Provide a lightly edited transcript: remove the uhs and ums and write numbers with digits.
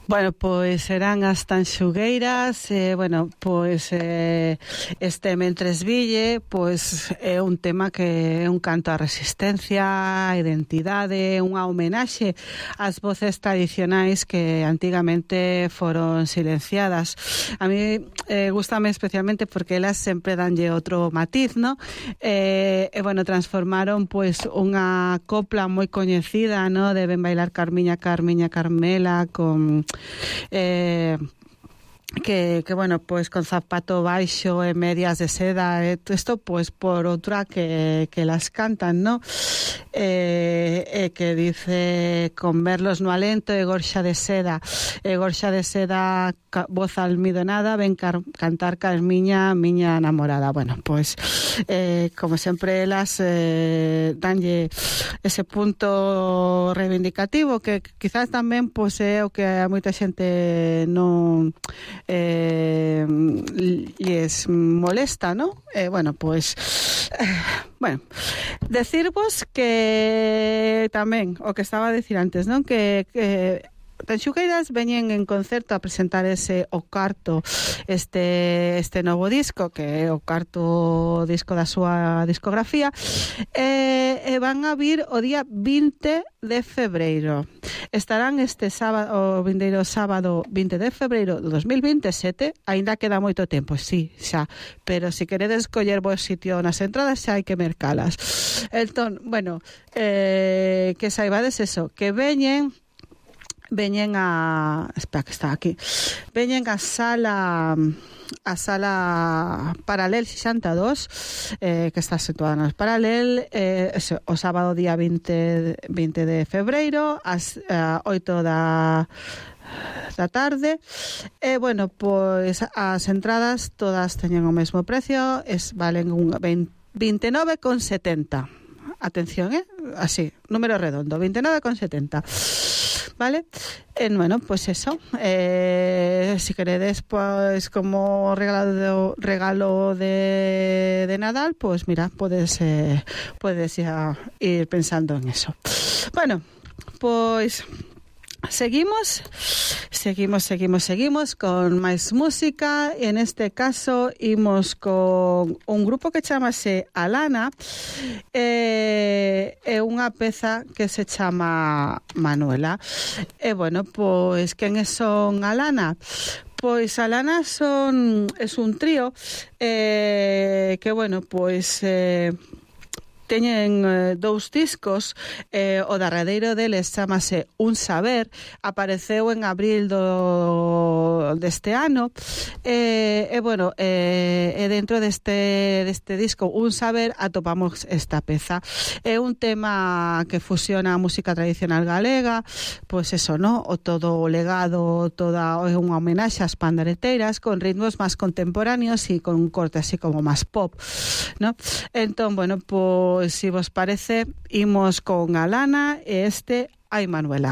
Bueno, pois serán as Tanxugueiras, pois este Mentres Ville, pois é un tema que é un canto á resistencia, á identidade, unha homenaxe ás voces tradicionais que antigamente foron silenciadas. A mí gústame especialmente porque elas sempre danlle outro matiz, ¿no? Transformaron pois unha copla moi coñecida, ¿no? De Ven bailar Carmiña, Carmiña, Carmela, con pois con zapato baixo e medias de seda, isto pois por outra que las cantan, ¿no? Que dice con verlos no alento e gorxa de seda, voz almidonada, ven cantar Carmiña, miña namorada. Bueno, pois como sempre elas danlle ese punto reivindicativo que quizás tamén pois é o que a moita xente non lles molesta, ¿no? Decirvos que tamén o que estaba a decir antes, non? Que Tanxugueiras veñen en concerto a presentar o cuarto este novo disco, que é o cuarto disco da súa discografía, e van a vir o día 20 de febreiro. Estarán este sábado, o vindeiro sábado 20 de febreiro do 2027, aínda queda moito tempo, sí, xa, pero se queredes coller vos sitio nas entradas xa hai que mercalas. Entón, que saibades eso, que veñen a sala Paralel 62, que está situada nos Paralel, o sábado día 20 de febreiro ás 8 da tarde. Pois as entradas todas teñen o mesmo precio, valen 29,70. Atención, así, número redondo, 29,70. ¿Vale? Pois eso, si queredes pois como regalo de Nadal, pois mira, podes ya ir pensando en eso. Bueno, pois seguimos con máis música, e en este caso imos con un grupo que chamase Alana, é unha peza que se chama Manuela. Pois quen son Alana? Pois Alana es un trío que teñen dous discos, o derradeiro deles chamase Un Saber, apareceu en abril deste ano, dentro deste disco Un Saber atopamos esta peza. É un tema que fusiona a música tradicional galega, pois eso, ¿no? O todo o legado, é unha homenaxe ás pandereteiras con ritmos máis contemporáneos e con un corte así como máis pop, ¿no? Entón, pois si vos parece, imos con Alana e Ai Manuela.